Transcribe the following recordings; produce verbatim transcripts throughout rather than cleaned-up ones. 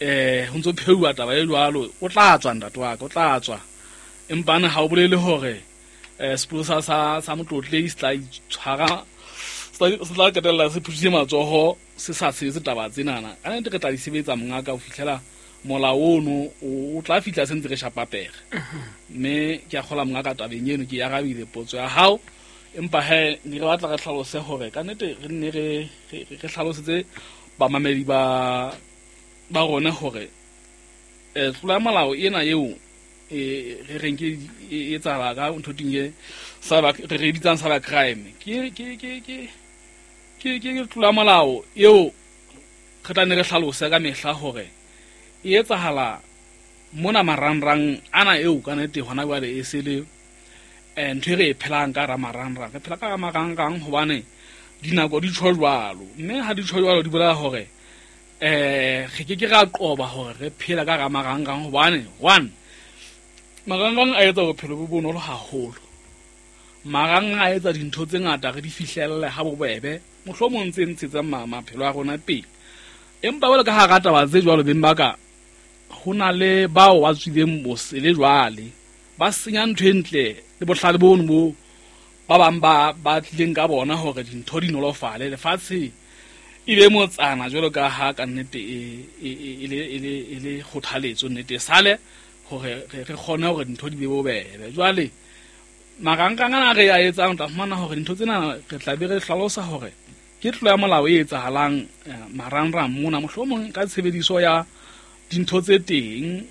um ho ntso pheuwa taba e jwalo. O tla tswa, ntate wa ka, o tla tswa, empane ha o bolele hore um sepolesa sa sa Motlotlei se tla itshwara, se tla qetella se phuthile matsoho, se sa sebetse taba tsenana. Ka nnete re tla di sebetsa, mongaka, ho fihlela molao ono o tla fihla se ntse re shapa pere. Mme ke a kgola, mongaka, tabeng eno ke arabile potso ya hao, empa he ne re batla re hlalose hore ka nnete re nne re re hlalosetse bamamedi ba ba rona hore um tlolo ya molao ena eo e re reng ke e etsahala ka ntho ting e cyber, re re bitsang cyber crime, ke ke ke ke ke ke tlolo ya molao eo re tla ne re hlalose ka mehla hore e etsahala mona marangrang ana eo ka nnete hona jwale e se le um ntho e re e phelang ka hara marangrang. Re phela ka hara marangrang hobane dinako di tjho jwalo, mme ha di tjho jwalo di bolela hore um re ke ke ra qoba hore re phela ka hara marangrang, hobane one, marangrang a etsa bophelo bo bonolo haholo. Marangrang a etsa dintho tse ngata re di fihlelle ha bobebe, mohlomong tse ntshetsang maphelo a rona pele. Empa jwale ka hara taba tse jwalo, beng ba ka, ho na le bao ba tswileng bosele jwale ba senya ntho e ntle le bohlale bono bo ba bang ba ba tlileng ka bona hore dintho di nolofale, lefatshe e be motsana jwalo ka ha ka nnete e e le e le e le kgothaletso nnete e sale hore re kgone hore dintho di be bobebe. Jwale marangrang ana re a etsang, tla fumana hore dintho tsena re tla be re hlalosa hore ke tlolo ya molao e etsahalang marangrang mona, mohlomong ka tshebediso ya dintho tse teng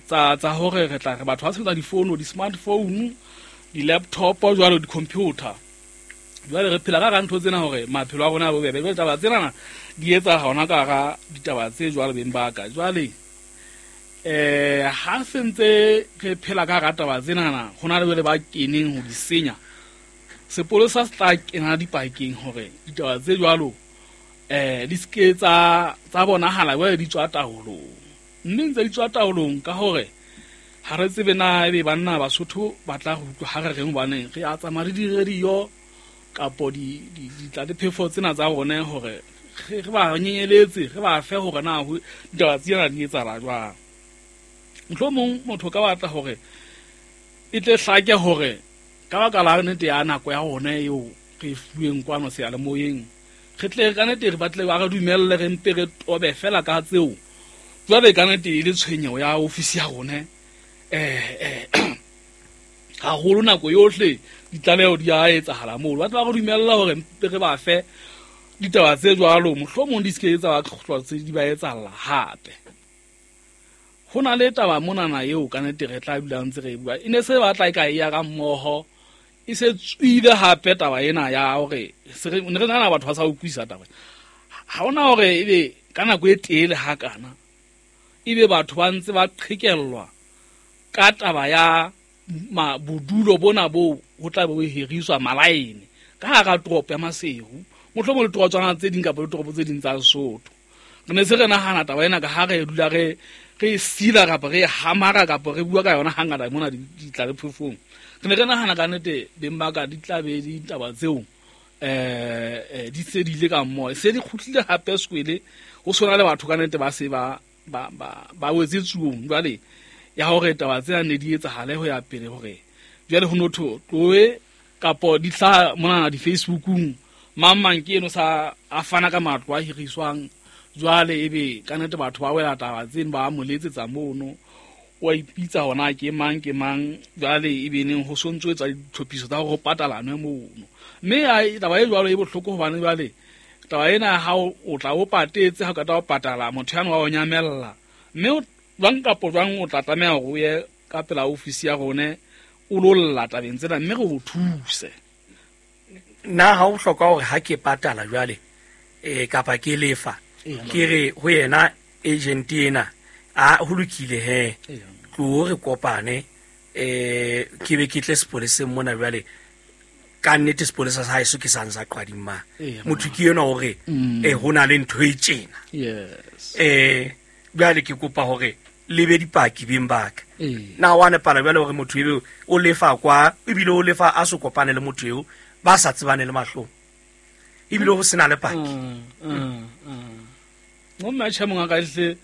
tsa tsa hore re tla re batho ba sebetsa difono, di-smartphone, di-laptop jwalo, di-computer. Jwale re phela ka hara ntho tsena hore maphelo a rona a bobebe. Jwale taba tsena di etsa hona ka hara ditaba tse jwalo, beng ba ka. Jwale eh ha se ntse re phela ka hara taba tsenana, ho na le jwale ba keneng ho di senya. Sepolesa se tla kena dipakeng hore ditaba tse jwalo eh di ske tsa tsa bonahala jwale di tswa taolong, mme ntse di tswa taolong ka hore ha re tsebe na ebe banna Basotho ba tla re utlwa ha re reng, hobane re a tsamaya le di-radio kapo di ditlatlephefo tsena tsa rona hore re ba nyenyeletse, re ba fe hore na ditaba tsena di etsahala jwang. Mohlomong motho ka batla hore e tle hlake hore ka baka la nnete ya nako ya rona eo re e fuweng kwano seyalemoyeng, re tle ka nnete re batle ba re dumelle re mpe re tobe fela ka tseo. Jwale ka nnete e le tshwenyeho ya ofisi ya rona eh haholo nako yohle ditlaleho di a etsahala moo, ba tla ba re dumella hore mpe re ba fe ditaba tse jwalo, mohlomong di ske tsa ba tlhotlwa tse di ba etsahalla hape. Ho na le taba monana eo ka nnete re tla dula ntse re e bua, e ne se batla e ka e ya ka mmoho, e se tswile hape taba ena ya hore ne re nahana batho ba sa utlwisisa taba. Ha hona hore ebe ka nako e telele hakana ebe batho ba ntse ba qhekellwa ka taba ya ma bodulo bona bo ho tla be ho hiriswa malaene ka hara toropo ya Maseru, mohlomong le torotswana tse ding kapa ditoropo tse ding tsa Lesotho. Re ne se re nahana taba ena ka ha re dula re re sila kapa re hamara kapa re bua ka yona hangata mona ditlalephefong. Re ne re nahana ka nnete, beng ba ka, di tla be ditaba tseo eh di se di ile ka mmoho, se di kgutlile hape sekwele ho sona le batho ka nnete ba se ba ba ba ba wetse tsuong jwale ya hore taba tsena ne di etsahale ho ya pele, hore jwale ho notho tloe kapo di hlaha monana di-Facebookung, mang mang ke eno sa a fana ka matlo a hiriswang. Jwale ebe ka nnete batho ba wela taba tseno, ba mo letsetsa mono, o a ipitsa hona ke mang ke mang, jwale ebe neng ho sontso etsa ditlhophiso tsa hore ho patalanwe mono. Mme taba e jwalo e bohloko, hobane jwale taba ena ha o tla o patetse, ha o qeta ho patala motho yane wa o nyamella, mme jwang kapo jwang o tla tlameha hore o ye ka pela ofisi ya rone o lo lla tabeng tsena, mme re o thuse. Nna ha o hloka hore ha ke patala jwale eh kapa ke lefa, ke re ho yena agent ena a ho lokile he, tlo re kopane eh ke be ke tle sepoleseng mona jwale. Ka nnete sepolesa sa haeso ke sa ntsa qwading ma motho ke yena hore eh ho na le ntho e tjena. Yes, eh jwale ke kopa hore le be dipaki beng ba ka. Na wa nepala jwale hore motho eo o lefa kwa, ebile o lefa a se kopane le motho eo ba sa tsebane le mahlong, ebile ho sena le paki. Mo mmatjha mongaka hle.